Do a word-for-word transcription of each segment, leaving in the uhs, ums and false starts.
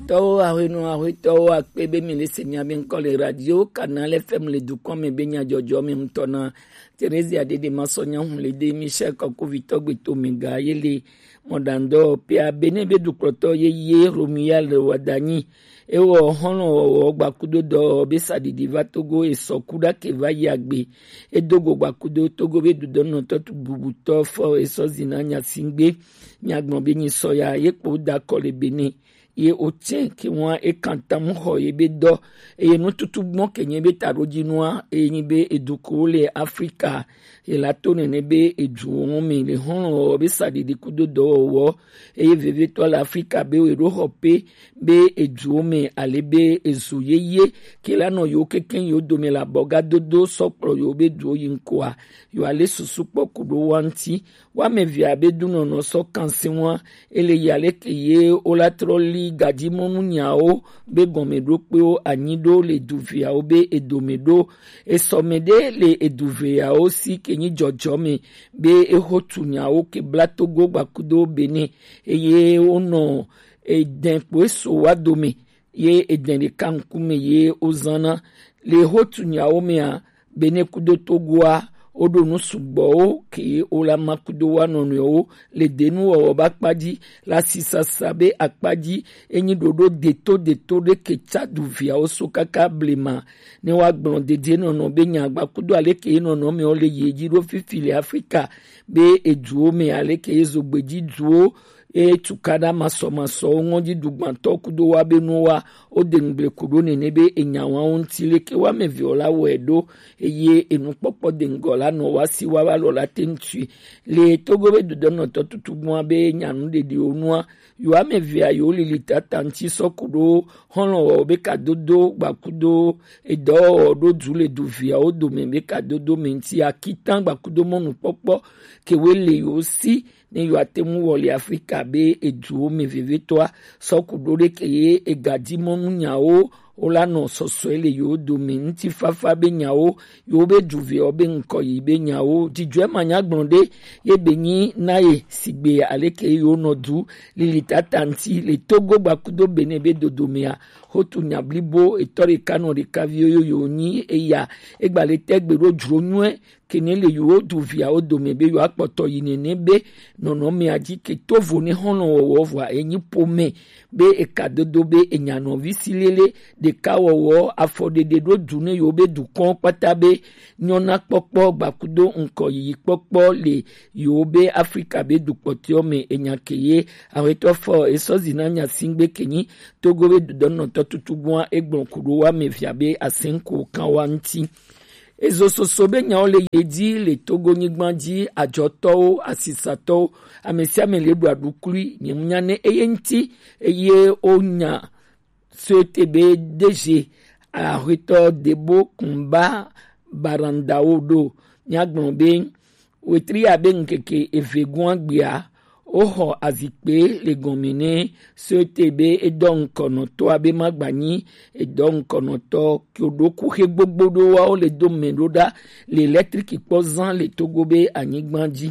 Tɔwo ahwenu ahwetɔwo akpe be mi le se nya be ŋkɔ le radio Canal F M le dukɔ me be nyajɔjɔ me ŋutɔ na Theresia Dede Masɔnya Hunlede Michel Kɔkuvitɔ Gbeto Mega ye le mɔdandɔ pia Benin be dukplɔtɔ ye ye Romuald Wadanyi. Ewɔ hɔnlɔ wɔwɔ gbakudo dɔ be sadidi va Togo esɔ kuda ke va yi agbe. Edogo gbakudo Togo be dudɔnɔtɔ tu bubutɔ fɔ esɔ zina nyasingbe. Nyagbɔn be nyi sɔ ya ye kpo da kɔ le Benin. Ye o tsɛ ke ŋua e kan tam xɔ ye be dɔ eye nututu gbɔn ke nye be taɖodzinua eye nyi be edukuwo le Afrika ye la to nene be eduwo ŋu mi le hɔn wɔ be saɖiɖi kudo dɔwɔwɔ eye vevetɔ le Afrika be we ɖo xɔ pe be eduwo me ale be ezu yeye ke la nɔ yewo kekeŋ yewo dome le abɔgadodo sɔ kplɔ yewo be duwo yi ŋkɔa yewo ale susu kpɔ ku ɖo wa ŋuti. Woame evea be dunɔnɔ sɔ kansi ŋua, ele yi aleke ye wola trɔ li gajimɔnu nyawo be gɔmeɖokpewo anyi ɖo le duviawo be edome ɖo. Esɔme ɖe le eduviawo si ke nyi jɔjɔme be exo tu nyawo ke bla Togo gbakudo Benin eye wonɔ edɛn kpo eso wa dome ye edɛn ɖeka ŋkume ye wozana le exo tu nyawo mea. Benin kudo Togoa woɖo nu sugbɔwo ke wola ma kudo wa nɔnɔewo le denuwɔwɔ be akpa dzi, le asisasa be akpa dzi, enyi ɖoɖo deto deto ɖe ke tsa duviawo so kaka blema ne woagblɔ dedienɔnɔ be nyagba kudo aleke ye nɔnɔmewo le yi edzi ɖo fifi le Afrika be eduwo me aleke ye zogbe dzi duwo eye tukaɖa masɔmasɔwo ŋɔdzi dugbãtɔ kudo wa be nuwa wo de ŋugble ku ɖo nene be enya wawo ŋuti leke woame evewo la wɔe ɖo eye enukpɔkpɔ de ŋgɔ la nɔ wa si wa va lɔ la te ŋutui le Togo be dodɔnɔtɔ tutugbua be nyanuɖeɖiwo nua yewo ame evea yewo lili tata ŋuti sɔ ku ɖo xɔlɔwɔwɔ be kadodo gbakudo edɔwɔwɔ ɖo du le duviawo dome be kadodo me ŋuti akitan gbakudo mɔnukpɔkpɔ kewe le yewo si ne yewoate ŋu wɔ le Afrika be eduwo me vevetɔa sɔ ku ɖo ɖe ke ye egadi mɔnu nyawo wola nɔ sɔsɔe le yewo dome ŋutifafa be nyawo yewo be duviawo be ŋkɔ yi be nyawo dzidzɔe manyagblɔ ɖe ye be nyi na ye sigbe aleke yewo nɔ du lili tata ŋuti le Togo gbakudo Benin be dodomea. Hotu nya blibo etɔ ɖeka nɔ ɖeka vi yoyo nyi eya egba le tɛgbe ɖo dzro nyuie kene le yewo duviawo dome be yewoakpɔtɔ yi nene be nɔnɔmea dzi ke to vo ne xɔlɔwɔwɔ vɔa enyi pome be eka dodo be enya nɔvi si lele ɖeka wɔwɔ afɔɖeɖe ɖo du ne yewo be dukɔ kpata be nyɔna kpɔkpɔ gbakudo ŋkɔ yiyi kpɔkpɔ le yewo be Afrika be dukpɔtɔewo me enya ke ye awetɔ fɔ esɔ zina nya singbe kenyi Togo be dodɔnɔtɔ tutugbua egblɔ ku ɖo wa me via be asenko kan wa ŋuti. Ezo soso be nyawo le ye dzi le Togo nyigba dzi adzɔtɔwo, asisatɔwo, ame sia ame le ɖu aɖukli, nye ŋu nya ne eye ŋuti, eye wonya soete be deje ahwetɔ debo kumba barandawo ɖo. Nyagblɔ be wetri abe ŋkeke eve gɔ̃a gbea, woxɔ azikpe le gɔme ne soete be edɔ ŋkɔnɔtɔ abe magbanyi edɔ ŋkɔnɔtɔ kyoɖo kuxe gbogbo ɖo wawo le do me ɖo ɖa le elektriki kpɔ zã le Togo be anyigba dzi.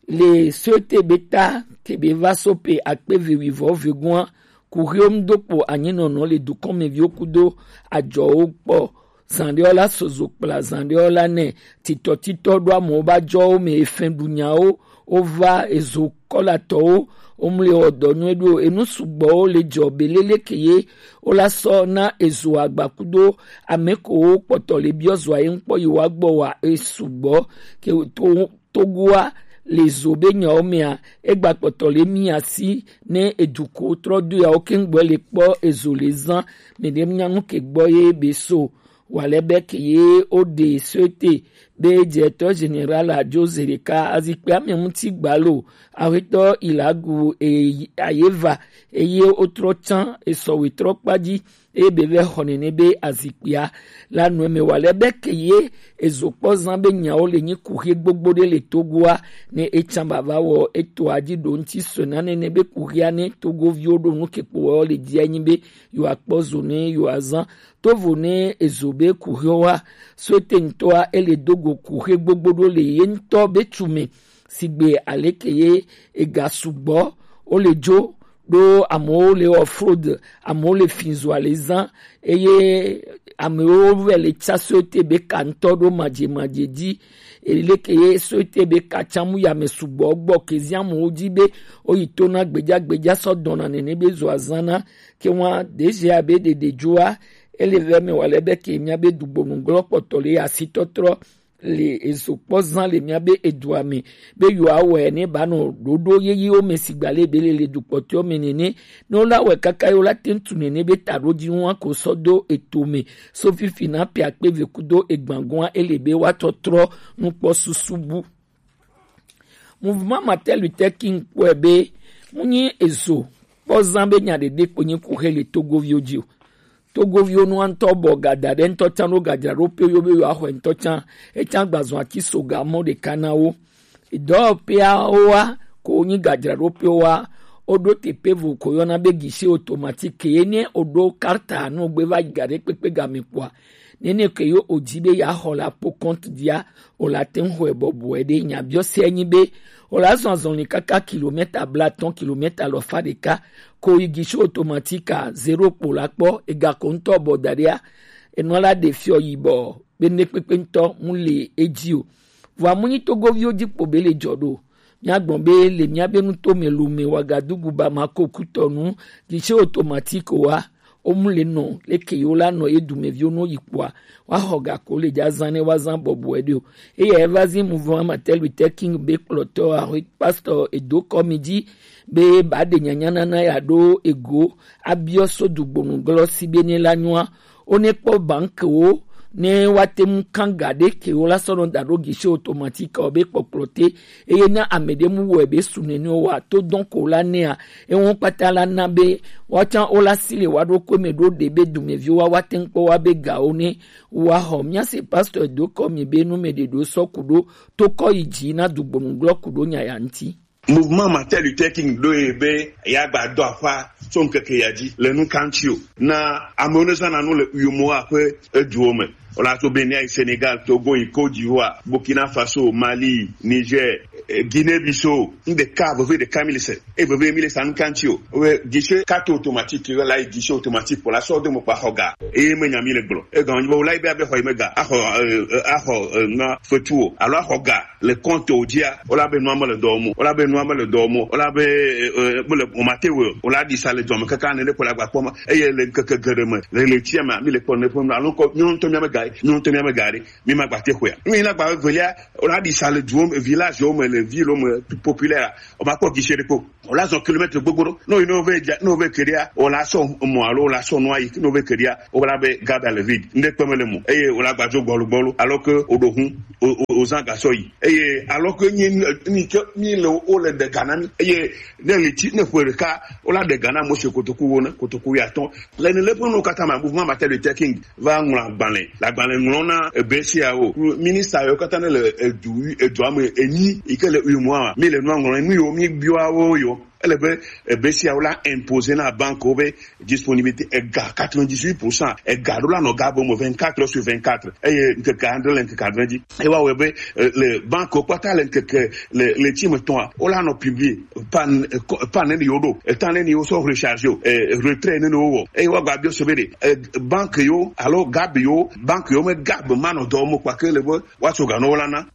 Le soete be ta kebe va so pe akpe ve wivɔ ve gɔ̃a kuxewo ŋdo kpo anyinɔnɔ le dukɔmeviwo kudo adzɔwo kpɔ. Zan ɖewo la sozo kpla zan ɖewo la nɛ titɔtitɔ ɖo amewo ba jɔwo me efɛn ɖu nyawo wova ezo kɔlatɔwo womle wɔ dɔ nyuie ɖo enu sugbɔwo le dzɔ belele ke ye wola sɔ na ezo agba kudo ame kowo kpɔtɔ le biɔ zoa ye ŋkpɔ yi wa gbɔ wa esugbɔ ke to Togoa le zo be nyawo mea egba kpɔtɔ le mi asi ne eduko trɔ do yawo keŋgbɔ le kpɔ ezo le zan me ɖe nya nu ke gbɔ ye be so wa le be ke ye o de soete be directeur général adzo ze ɖeka azikpe ame ŋuti gbalo awetɔ ilagu e ayeva eye wotrɔ tsã esɔ wetrɔ kpa dzi eye be vɛ xɔ nene be azikpia la nɔ eme wa le be ke ye ezo kpɔ zã be nyawo le nyi kuxi gbogbo ɖe le Togoa ne etsã bava wɔ eto adzi ɖo ŋuti sɔe na nene be kuxia ne Togoviwo ɖo nu ke kpo wɔ le dzia nyi be yewoakpɔ zo ne yewoazã tovo ne ezo be kuxiwo wa so ete ŋutɔa ele do go kuxi gbogbo ɖo le ye ŋutɔ be tsu me sigbe aleke ye ega sugbɔ wo le dzo ɖo amewo le wɔ fraude, amewo le finzoa le zã, eye amewo vɛ le tsa société be ka ŋutɔ ɖo madzemadze dzi. Eleke ye société be ka tsa mu ya me sugbɔ gbɔ ke zi amewo dzi be woyi to na gbedzagbedza sɔ dɔna nene be zɔ azã na. Ke wa D G abe ɖeɖe dzoa, ele vɛ me wa le be ke mia be dugbonu glɔ kpɔtɔ le asitɔtrɔ le ezo kpɔ zã le mia be edua me be yewoawɔe ne ba nɔ ɖoɖo yeyewo me sigba le be le le dukpɔtɔwo me nene. Ne wola wɔe kaka ye wola te ŋu tu nene be taɖodzinua ko sɔ do eto me so fifi na piakpe ve kudo egbangoa ele be woatɔ trɔ nukpɔ susu bu. Mouvement Martin Luther King kpɔe be mu nyi ezo kpɔ zã be nya ɖeɖe kpo nyi ku he le Togoviwo dzi o. Togoviwo nua ŋutɔ bɔ ga da ɖe ŋutɔ tsã ɖo gadzraɖoƒe yo be yewoaxɔe ŋutɔ tsã. Etsã gbazɔ ati so ga mɔ ɖeka na wo. Dɔwɔƒeawoa ko nyi gadzraɖoƒewoa, woɖo teƒe vo ko yɔna be guichet automatique ye ne woɖo karta no gbe va yi ga ɖe kpekpe game kpɔa, nene ke yo odzi be yeaxɔ le apo compte dzia, wola te ŋu xɔe bɔbɔe ɖe. Nya biɔ se nyi be wola zɔ azɔli kaka kilomita blaatɔ̃, kilomita alɔfa ɖeka, ko yi guichet automatique a zero kpo la kpɔ, ega ko ŋutɔ bɔ da ɖea, enua la ɖe fiɔ yibɔ be ne kpekpe ŋutɔ mu le edzi o. Vɔa mu nyi Togoviwo dzi kpo be le dzɔ ɖo. Míagblɔ be le míabe nuto me Lome, Ouagadougou, Bamako, Cotonou, guichet automatique wa, womu le nɔ leke yewo la nɔ ye dumeviwo no yi kpɔa, woaxɔ ga ko le dza zã ne woazã bɔbɔe ɖe o. Eya eva zi mouvement Martin Luther King be kplɔtɔ ahoe pastor edo kɔ mi dzi be ba ɖe nyanyanana ya ɖo ego abiɔ so dugbonu glɔ si be ne la nyua. Wo ne kpɔ bankewo ne woate ŋu kan ga ɖe ke wo la sɔ nɔ da ɖo guichet automatique wo be kpɔkplɔ te, eye ne ame ɖe mu wɔe be su nene wa to dɔn ko la nea, ewo kpata la na be woatsã wo la si le wa ɖo ko me ɖo ɖe be dumeviwo wa woate ŋu kpɔ wa be gawo ne wa xɔ. Mía se pasteur do kɔ mi be nu me ɖe ɖo sɔ ku ɖo to kɔ yi dzi na dugbonu glɔ ku ɖo nya ya ŋuti. Mouvement Martin Luther King ɖo ye be ya gba dɔ aƒa tso ŋkeke ya dzi le nu kan tsi o. Na amewo ne zãna nu le U M O A ƒe eduwo me. Wola tso Benin ayi Senegal, Togo yi Côte d'Ivoire, Burkina Faso, Mali, Niger, eh, Guinée Bissau. Nu ɖeka veve ɖeka mi le se. E veve mi le sa nu kan tsi o. Wo guichet carte automatique, wo la yi guichet automatique pour la sorte de mo kpa xɔ ga. Eye me nya mi le gblɔ. E gan wo la yi be abe xɔ yi me ga. Axɔ, eh, eh, axɔ, eh, na fetu o. Alo axɔ ga le compte wo dzia, wola be nua me le dɔ wɔm o, wola be nua me le dɔ wɔm o, wola be, eh, eh, mele o mate wɔ o, wola ɖi sa le dɔ me kaka ne ne kpɔ le agba kpɔ ma, eye le ŋkeke geɖe me, le ɣleti me, mi le kpɔ ne ƒe alo ŋkɔ, mi ŋutɔ mi ame ga, mi ŋutɔ mi ame ga ɖe, mi ma gba te xɔa. Mi na gba velia, wola ɖi sa le duwo me, village wo me, le ville wo me, populaire, o ma kpɔ guichet ɖe kpɔ. Wola zɔ kilomètre gbogbo ɖo. Ne wo yi, ne wo ve dza, ne wo ve keɖia, wola sɔ mɔ alo wola sɔ nua yi, ne wo ve keɖia, wola be garde à vue. Ŋɖe kpe me le mo. Eye wola gbadzo gbɔlu gbɔlu. Alors que o ɖo hun, o, o, o zã gasɔ yi. Eye alors que nyi, nyi ke, nyi le wo le de ga na mi. Eye ne ɣleti, ne ƒe ɖeka, wola de ga na mo se kotoku wo ne, kotoku ya tɔn. Le ne le ƒe nu kata ma, mouvement Martin Luther King va ŋlɔ agbalẽ. Le agbalẽ ŋlɔ na ebe siawo. Ministre yo kata ne le edu, edua me enyi, yi ke le U M O A, mi le nua ŋlɔ, nu yo mi biwa wo yo. Ele be ebe siawo la imposer na banque wo be disponibilité ega quatre-vingt-dix-huit pour cent, ega ɖo la nɔ ga be me vingt-quatre heures sur vingt-quatre. Eye ŋkeke adre le ŋkeke adre dzi. Ewa wɔe be, eh, le banque wo kpata le ŋkeke le, le tsi me tɔa, wola nɔ publier pan, eh, ko-, pan ne ni wo ɖo, eh, tan ne ni wo sɔ recharger o, eh, retrait ne ni wo wɔ. Eye wa gba biɔ se be ɖe, eh, banque yo alo gab yo, banque yo me gab ma nɔ dɔ mo kpake le be wa tso ga nɔ wo la na.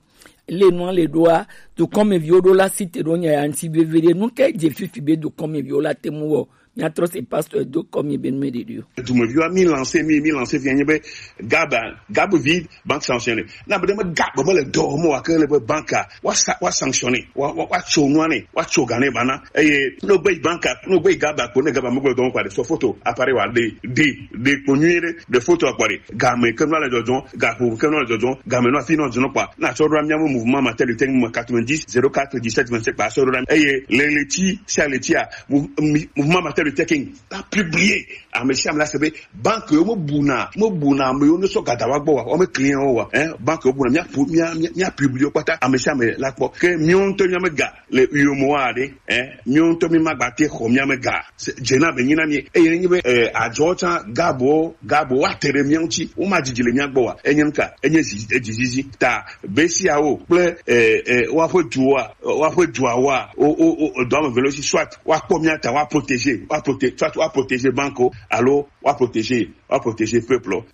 Le nua le ɖoa, dukɔmeviwo ɖo la si te ɖo nya ya ŋuti veviɖe. Nu ke dze fifi be dukɔmeviwo la te mu wɔ? Miatrɔ se pasteur do kɔ mi be nu me ɖeɖi o. Dumeviwa mi lancer, mi, mi lancer via nye be gaba, gab vide, banque sanctionné. Na be ɖe me gab me le dɔ mo wa ke le be banque a, wa sa, wa sanctionné, wa, wa, wa tso nua ne, wa tso ga ne ba na. Eye no gbe banque a, no gbe gaba ko ne gaba me gbe dɔ mo kwa de so photo, appareil wa de, de, de ko nyui de, de photo kwa de. Game ke nua le dzɔdzɔ, gaƒo ke nua le dzɔdzɔ, game nua fi nua dzɔdzɔ kpa. Na tsɔ ɖo mía mouvement Martin Luther King quatre-vingt-dix zéro quatre dix-sept vingt-sept kpa tsɔ ɖo. Eye le ɣleti sia ɣleti a, mou-, mi-, mouvement Martin Le checking la publié. Ame sia ame la se be banque yo me buna, me buna ame yo ne sɔ gada wa gbɔ wa, wo me client wo wa, hein, banque yo buna, mia pu-, mia, mia, mia publié wo kpata, ame sia ame la kpɔ. Ke miwo ŋutɔ mia me ga le U E M O A ɖe, hein, miwo ŋutɔ mi ma gba te xɔ mia me ga. Se-, dze na be nyi na mi. Eye ne nyi be, eh, adzɔ tsã gabo, gabo wa te ɖe mia ŋuti, wo ma dzidzi le mia gbɔ wa. Enye nuka, enye zi-, edzizizi. Ta be siawo kple, eh, eh, woaƒe duwoa, woaƒe duawoa, wo, wo, wo, edɔ ame eve le wo si, soit woakpɔ mía ta, woaprotégé, woaproté-, soit woaprotégé banque wo, alo woaprotégé, woaprotégé peuple wo.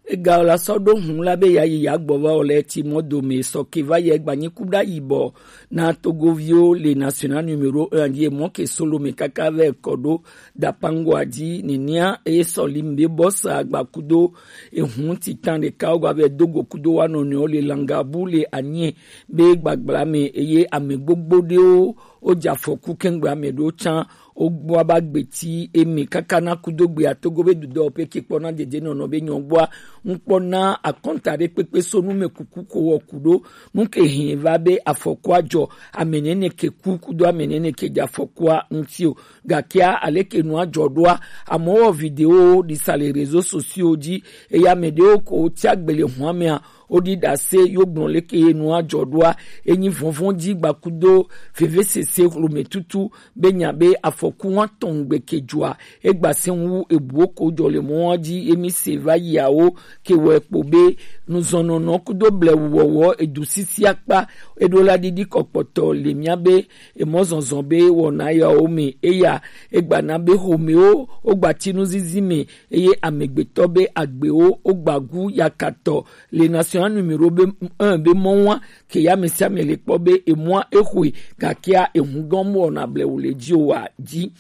Ega la sɔ ɖo hun la be ya yi ya gbɔ va o le ti mɔ dome sɔ ke va yɛ gba nyi ku ɖa yibɔ na Togoviwo le national numéro un dzi mɔ ke solo me kaka vɛ kɔ ɖo Dapango adzi nenia eye sɔ li mbe bɔ sa gba kudo ehun titan ɖeka wo gba vɛ dogo kudo wa nɔnɔewo le Langabu le Anie be gbagbla me eye ame gbogbo ɖewo wo dze afɔku kɛŋgbe ame ɖewo tsã wo gbɔ aba gbeti eme kaka na kudo gbea Togo be dudɔ pe ke kpɔ na dede nɔnɔ be nyɔ gbɔa ŋkpɔ na akɔnta ɖe kpekpe so nu me kuku ko wɔ ku ɖo nu ke hɛn va be afɔkua dzɔ ame nene ke ku kudo ame nene ke dze afɔkua ŋuti o. Gakea aleke nua dzɔ ɖoa, amewo wɔ video ɖi sa le réseaux sociaux dzi eye ame ɖewo ko tsi agbe le hua mea woɖi ɖase yo gblɔ leke ye nua dzɔ ɖoa. Enyi vɔvɔn dzi gbakudo vevesese hlome tutu be nya be afɔku wa tɔn gbe ke dzɔa egba se wu ebuwo ko dzɔ le mɔa dzi emi se va yiawo ke wɔ ekpo be nuzɔnɔnɔ kudo blewuwɔwɔ edu sisi akpa eɖo la ɖiɖi kɔkpɔtɔ le mia be emɔzɔzɔ be wɔna yawo me eya egba na be homewo wogba tinu zizi me eye amegbetɔ be agbewo wogba gu yakatɔ le national numéro be un be mɔ wa ke ya me sia me le kpɔ be emɔa exoe gakea ehun gɔn mu wɔna blewu le dzi o wa dzi.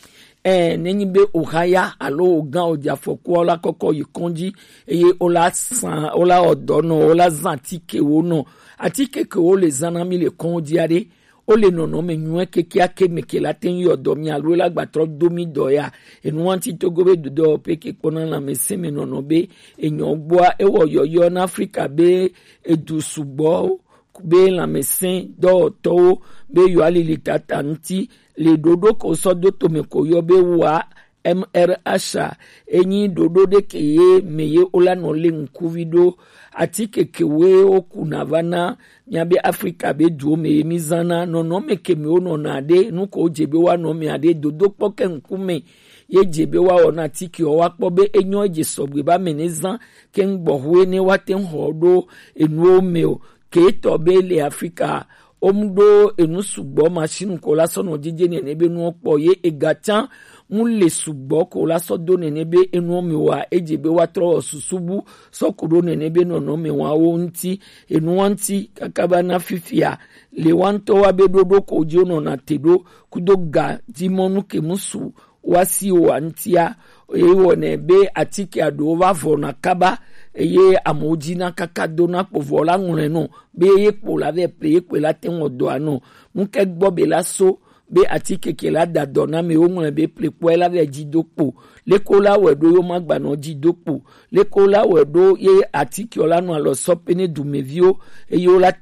Ɛ, nenyi be oha ya alo ogan odze afɔkua la kɔkɔ yi kɔndzi eye wola san wola ɔdɔ nɔ wola zan atikewo nɔ atike ke wo le zan na mi le kɔndzi aɖe wo le nɔnɔme nyuie kekeake me ke la te ŋu yɔ dɔ mi alo la gba trɔ do mi dɔ ya. Enu wa ŋuti Togo be dudɔ pe ke kpɔna lãmesẽ me nɔnɔ be enyɔ gbɔa ewɔ yɔyɔ na Afrika be edu sugbɔ be lãmesẽ dɔwɔtɔwo be yewoalili tata ŋuti le ɖoɖo ko sɔ do tome ko yɔ be wa M R H a enyi ɖoɖo ɖe ke ye me ye wola nɔ le ŋkuvi ɖo atike ke woe wokuna va na mía be Afrika be duwo me ye mi zana nɔnɔme ke me wonɔna ɖe nu ko dze be woanɔ mea ɖe dodokpɔ ke ŋkume ye dze be woawɔ na atikewo woakpɔ be enyɔ edze sɔgbe be ame ne zã ke ŋgbɔxoe ne woate ŋu xɔ ɖo enuwo me o. Ke etɔ be le Afrika, wo mu ɖo enu sugbɔ machine ko la sɔ nɔ dzidze nene be nuwo kpɔ ye ega tsã mu le sugbɔ ko la sɔ do nene be enuwo me wa edze be woatrɔ wɔ susu bu sɔ ku ɖo nene be nɔnɔme wawo ŋuti. Enu wa ŋuti kaka va na fifia le wa ŋutɔ wa be ɖoɖo ko dzi wonɔna te ɖo kudo ga dzi mɔnu ke mu su wa si wa ŋutia eye wɔnɛ be atike aɖewo va vɔ na kaba eye amewo dzi na kaka do na kpo vɔ la ŋlɔe nɔ be ye kpo la vɛ ple ye kpoe la te ŋɔ dɔa nɔ ŋkɛ gbɔ be la so be atike ke la da dɔ na me wo ŋlɔe be ple kpɔe la vɛ dzi do kpo leko la wɛ ɖo yo ma gba nɔ dzi do kpo leko la wɛ ɖo ye atike la nɔ alɔ sɔ pe ne dumeviwo eye wo la te